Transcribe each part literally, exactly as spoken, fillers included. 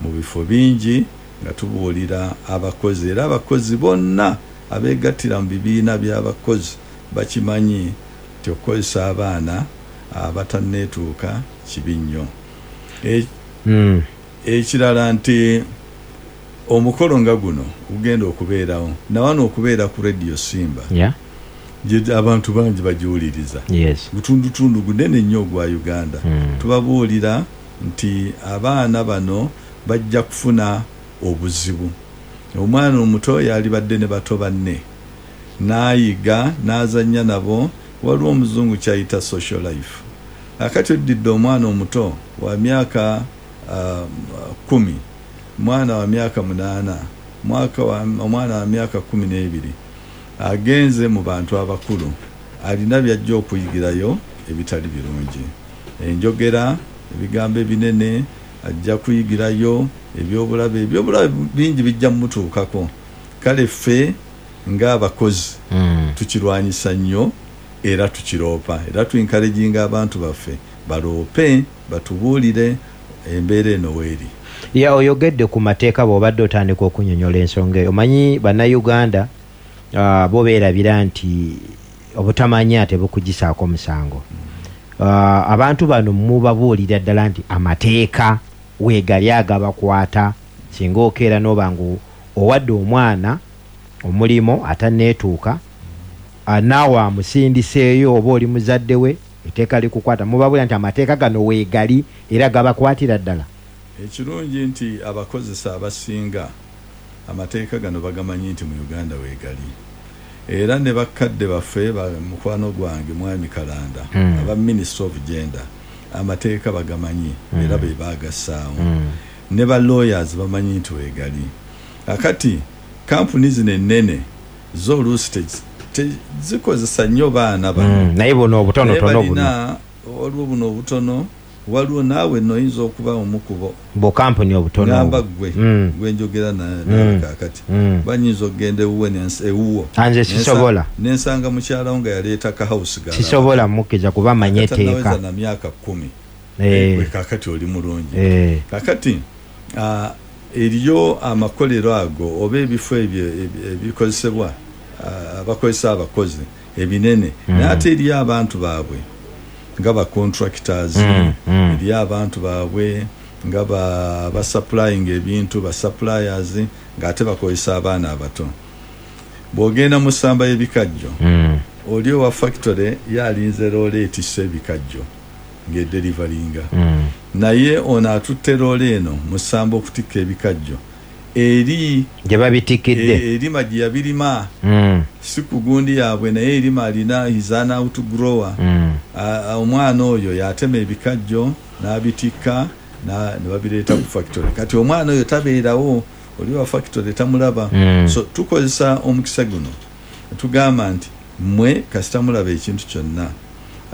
Mu bifo bingi nga tubuulira abakozi, era abakozi bonna abeegattira mu bibiina by'abakozi bakimanyi nti okukozesa abaana abatanneetuuka kibi nnyo. E- Mm. Ekirala nti omukolo nga guno gugenda okubeerawo nawano okubeera ku Radio Simba, Yeah. gye abantu bangi bagiwuliriza, Yes. gutundutundu gunene nnyo ogwa Uganda. Mm. Tubabuulira nti abaana bano bajja kufuna obuzibu. Omwana omuto yalibadde ne bato banne n'ayiga n'azannya nabo, waliwo omuzungu kyayita social life. Akati oddidde omwana omuto wa myaka uh, kumi, mwana wa myaka munaana, mwaka wa, omwana wa myaka kumi n'ebiri agenze mu bantu abakulu, alina byajja okuyigirayo ebitali birungi, enjogera, ebigambo ebinene, ajja kuyigirayo ebyobulabe, ebyobulabe bingi bijja mumutuukako. Kale ffe ng'abakozi Mm. tukirwanyisa nnyo era tukiroopa, era tuencouraginga abantu baffe baloope, batubuulire embeera eno weeri. Ya, oyogedde ku mateeka bw'obadde otandika okunyonyola ensonga eyo. Omanyi Bannayuganda uh, bo beerabira nti obutamanya tebukugisaako musango. Uh, abantu bano mubabuulira ddala nti amateeka weegali agabakwata, singa okeera n'oba nga owadde omwana omulimu atanneetuuka, uh, naawe amusindiseeyo oba oli muzadde we, etteeka likukwata. Mubabuulira nti amateeka gano weegali era gabakwatira ddala. Ekirungi nti abakozesa abasinga amateeka gano bagamanyi nti mu Uganda weegali, era ne bakadde baffe ba mukwano gwange Mwami Kalanda, Mm. aba Minister of Gender, amateeka bagamanyi era be bagassaawo, Mm. ne ba lawyers bamanyi nti weegali. Akati kampuni zino ennene zo oluusi te- tezikozesa nnyo baana bano. Mm. Naye buno obutonotono Naye buno balina, waliwo buno obutono, waliwo naawe noyinza okuba omukubo bukampuni obutono ngamba obwo. gwe Mm. gwe njogera na- nawe kaakati, Mm. banyinza okugenda ewuwe nensi- ewuwo Anze Nensa- sisobola. Nensanga mukyalawo nga yaleeta ka house girl Sisobola mukkiriza kuba manya atanaweza etteeka. na myaka kkumi. Eh. Gwe kaakati oli mulungi. Eh. Kakati ah, eriyo amakolero ago oba ebifo ebyo ebi- ebikozesebwa, ah, abakozesa abakozi ebinene, Mm. naye ate eriyo abantu baabwe nga ba contractors, Mm, mm. eriyo abantu baabwe nga ba basupplying ebintu, ba suppliers, ng'ate bakozesa abaana abato. Bw'ogenda mu ssamba y'ebikajjo, Mm. oli owa factory yalinze loole etisse ebikajjo ng'ederivaringa, Mm. naye ono atutte loole eno mu ssamba okutikka ebikajjo eri gye babitikidde. e- erima gye yabirima, Mm. si ku gundi yaabwe, naye erima alina is an outgrower. Mm. A- a- omwana oyo yatema ebikajjo n'abitikka na- ne babireeta ku factory. Kati omwana oyo tabeerawo, oli wa factory tamulaba. Mm. So tukozesa omukisa guno tugamba nti mmwe kasita mulaba ekintu kyonna,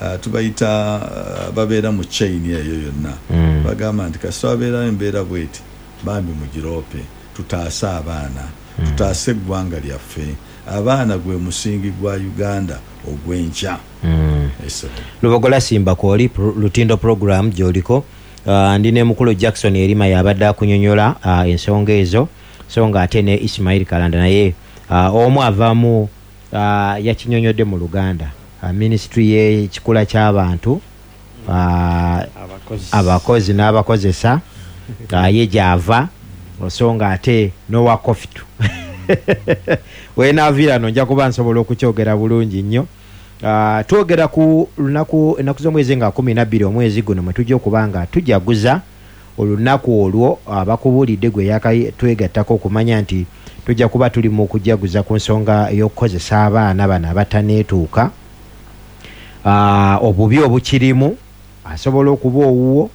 ah, tubayita ah, babeera mu chain eyo yonna, Mm. bagamba nti kasita wabeerawo embeera bweti, bambi mugiroope, tutaase abaana, tutaase eggwanga lyaffe. Abaana gwe musingi gwa Uganda ogw'enkya. Mm. Esebo. Lubogola Simba kwoli pro, Lutindo program gy'oliko. Uh, ndi ne mukulu Jackson Erima yabadde akunyonyola uh, ensonga ezo, so nga ate ne Ismail Kalanda naye uh, omu avaamu, uh, yakinyonyodde mu Luganda, uh, ministry y'ekikula ky'abantu, uh, abakozi, abakozi n'abakozesa, uh, ye gy'ava, so nga ate n'owa Kofitu wenaaviira no nja kuba nsobola okukyogera bulungi nnyo. Uh, twogera ku lunaku, ennaku z'omwezi nga kumi na bbiri omwezi guno mwe tujja okuba nga tujaguza olunaku olwo. Abakubuulidde gwe yakatwegattako okumanya nti tujja kuba tuli mu kujaguza ku nsonga ey'okukozesa abaana bano abataneetuuka, uh, obubi obukirimu, asobola okuba owuwo,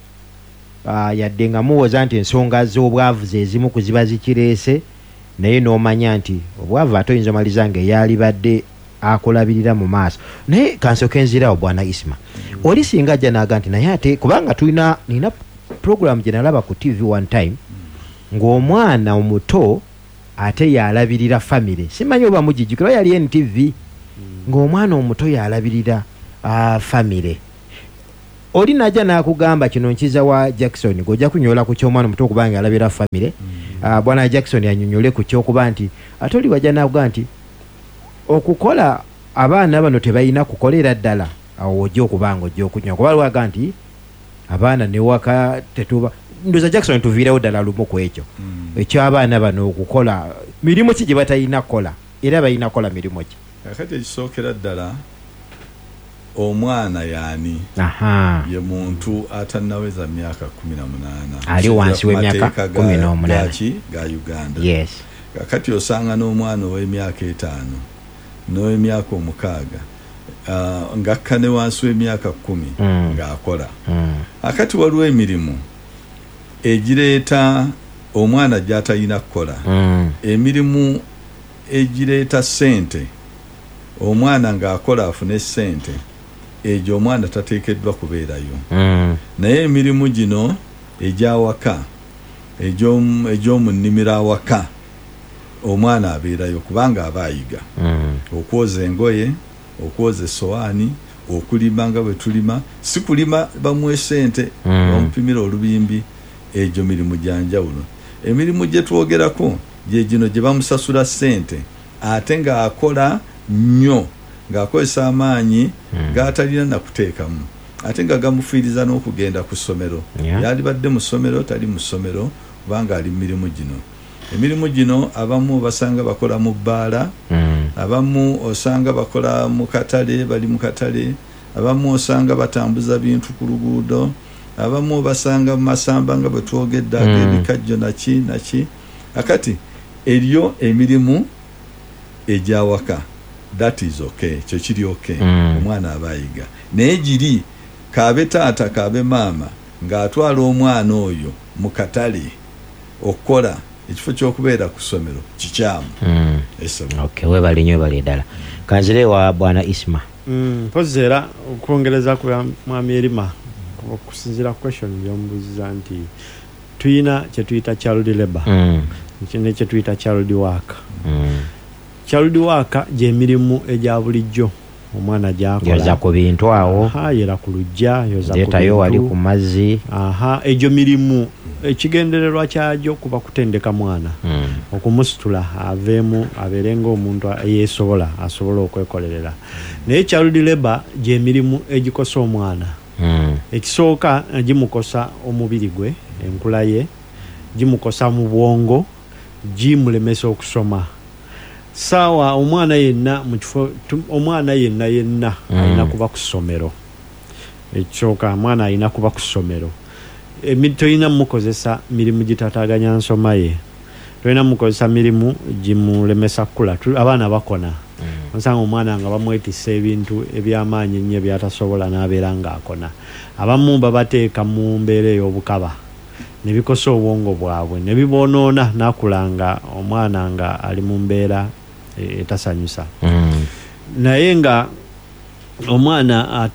uh, yadde nga muwoza nti ensonga z'obwavu ze zimu ku ziba zikireese, naye n'omanya nti obwavu ate oyinza omaliza nga eyalibadde akulabirira mu maaso. Naye kansooke nzirawo bwana Isma, oli singa ajja n'aga nti naye ate kubanga tulina, nina program gye nalaba ku T V one time ng'omwana omuto ate yalabirira famire, simanyi oba mugijjukira, yali N T V, ng'omwana omuto yalabirira, ah, famire. Oli najja n'akugamba kino nkiza wa Jackson, gojja kunyola ku ky'omwana omuto okubanga alabira famire. mm. uh, Bwana Jackson yanyonyole ku ky'okuba nti ate oli wajja n'akugamba nti okukola abaana bano tebalina kukolera ddala, awo ojja okubanga ojja okunywa, kuba lwaga nti abaana newaka tetuba. Ndoza Jackson tuviirewo ddala lumu ku ekyo mm. eky'abaana bano okukola mirimu ki gye batalina kukola, era balina kukola mirimu ki? Kakati ekisookera ddala, omwana yaani? Ye muntu atannaweza myaka kumi na munaana, ali wansi w'emyaka kumi n'omunaana ga Uganda. Yes. Kakati osanga n'omwana ow'emyaka etaano n'ow'emyaka omukaaga uh, ng'akka ne wansi w'emyaka kkumi mm. ng'akola. mm. Akati waliwo emirimu egireeta omwana gy'atalina kukola. mm. Emirimu egireeta ssente, omwana ng'akola afune ssente, egyo omwana tateekeddwa kubeerayo. mm. Naye emirimu gino egy'awaka, egy'omu nnimiro awaka, omwana abeerayo kubanga aba ayiga. mm. Okwoza engoye, okwoza essowaani, okulima nga bwe tulima, si kulima bamuwe ssente, mm. bamupimira olubimbi, egyo mirimu gya njawulo. Emirimu gye twogerako gye gino gye bamusasula ssente ate ng'akola nnyo, ng'akozesa amaanyi mm. g'atalina na kuteekamu, ate nga gamufiiriza n'okugenda ku ssomero. yeah. Yalibadde mu ssomero, tali mu ssomero kubanga ali mu mirimu gino. Emirimu gino abamu basanga bakola mu bbaala, mm. abamu osanga bakola mu katale, bali mu katale, abamu osanga batambuza bintu ku luguudo, abamu basanga mu masamba nga bwe twogedde ag'ebikajjo naki naki. Akati eriyo emirimu egy'awaka, that is okay, kyo kiri okay. mm. Omwana aba ayiga. Naye giri kaabe taata kaabe maama ng'atwala omwana oyo mu katale okukola ekifo ky'okubeera ku ssomero kikyamu. mm. Esebo. Okay, webale nnyo, webale ddala. Kanzire wa Bwana Isma. Mpozi era okwongereza ku mwami Erima, okusinziira ku question gy'omubuuziza nti tuyina kye tuyita child labor mm. ne kye tuyita child work. mm. Child work gy'emirimu egya bulijjo omwana gy'akola, yoza ku bintu awo, yera ku luggya, yoza ku leetayo wali bintu ku mazzi. Aha, egyo mirimu ekigendererwa kyagyo kuba kutendeka mwana, mm. okumusitula aveemu abeere ng'omuntu eyeesobola, asobola okwekolerera. Naye child labor gy'emirimu egikosa omwana. mm. Ekisooka gimukosa omubiri gwe, enkula ye, gimukosa mu bwongo, gimulemesa okusoma. Saawa omwana yenna mu kifo, omwana yenna yenna mm. alina kuba ku ssomero. Ekisooka omwana alina kuba ku ssomero. Tolina mukozesa mirimu gitataaganya nsoma ye, tolina mukozesa mirimu gimulemesa kkula. Abaana bakona, mm. osanga omwana nga bamwetissa ebintu eby'amaanyi ennyo by'atasobola n'abeera ng'akona. Abamu babateeka mu mbeera ey'obukaba ne bikosa obwongo bwabwe ne biboonoona, n'akula nga omwana nga ali mu mbeera etasanyusa. mm. Naye nga omwana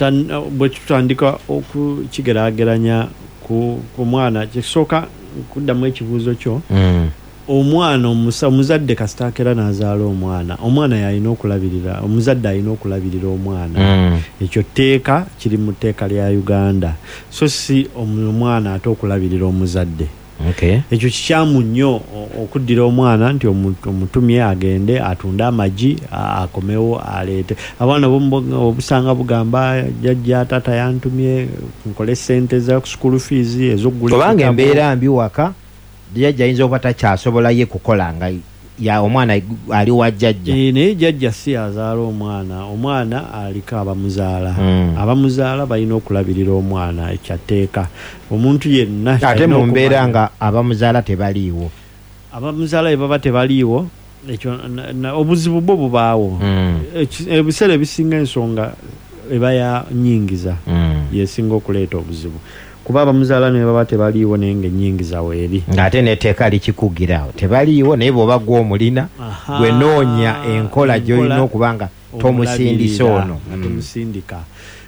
bwe tutandika okukigeraageranya ku mwana, kisooka kuddamu ekibuuzo kyo. mm. Omwana omuzadde kasita akeera n'azaala omwana, omwana y'alina okulabirira, omuzadde alina okulabirira omwana. mm. Ekyo tteeka kiri mu tteeka lya Uganda, so si omwana ate okulabirira omuzadde. Okay. Ekyo kikyamu nnyo okuddira omwana nti omutumye agende atunde amagi akomewo aleete. Abaana obusanga bugamba jjajja taata yantumye nkole ssente za school fees ez'okugula. Kubanga embeera mbi waka, jjajja ayinza okuba takyasobola ye kukola nga ya omwana ali wa jjajja. E, naye jjajja si azaala omwana, omwana aliko abamuzaala. mm. Abamuzaala balina okulabirira omwana, ekyatteeka. Omuntu yenna ate mu mbeera nga abamuzaala tebaliiwo, abamuzaala bwe baba tebaliiwo, ekyo obuzibu bwo bubaawo. mm. Ebiseera ebisinga ensonga eba ya nnyingiza mm. yesinga okuleeta obuzibu, kuba abamuzaala ne baba tebaliiwo naye ng'ennyingiza weeri, ng'ate n'etteeka likikugirawo tebaliiwo, naye bw'oba gw'omulina gwe noonya enkola gy'olina okuba nga tomusindisa ono, tomusindika.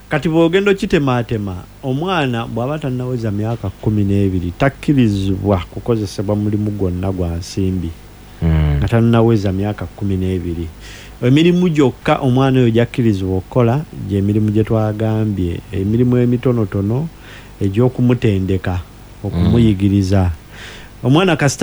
Kati bw'ogenda okitemaatema, omwana bw'aba tannaweza myaka kkumi n'ebiri takkirizibwa kukozesebwa mulimu gwonna gwa nsimbi mm. nga tannaweza myaka kkumi n'ebiri. Emirimu gyokka omwana oyo gyakkirizibwa okukola gyemirimu gye twagambye, emirimu emitonotono egy'okumutendeka, okumuyigiriza. Omwana kasita